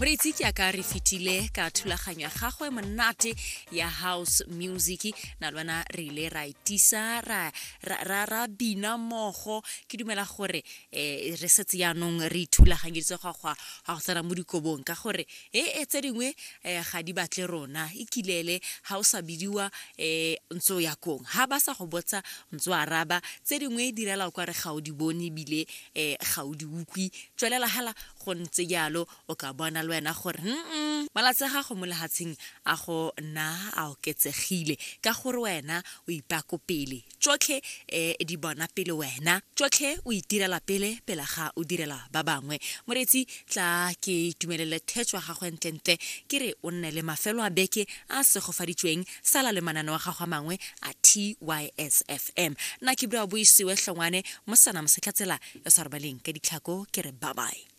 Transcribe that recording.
Moreetsi, ke aka re fetile ka thulaganyo ya gagwe monate ya house music. Na le wena re ile ra itisa ra ra ra bina mmogo. Ke dumela gore um re setse yaanong re ithulaganyeditse go go go tsena mo dikobong, ka gore e e tse dingwe um ga di batle rona. E kilele ga o sa bidiwa um ntse o ya kong, ga ba sa go botsa ntse o araba. Tse dingwe direla o kare ga o di bone ebile um ga o di utlwe. Tswelela hala go ntse jalo, o ka bona le wena gore mm malatsi a gago mo lehatsheng a go nna a oketsegile, ka gore wena o ipako pele tsotlhe, um di bona pele wena tsotlhe, o itirela pele pele ga o direla ba bangwe. Moreetsi, tla ke itumelele thetso ya gagwe ntlentle. Ke re o nne le mafelo a beke a segofaditsweng. Sala le mananeo a gago a mangwe a TYSFM. Nna ke bua Boisiwe Hlongwane, mosana mosetlhatsela yo sa robaleng ka ditlhako. Ke re bye bye.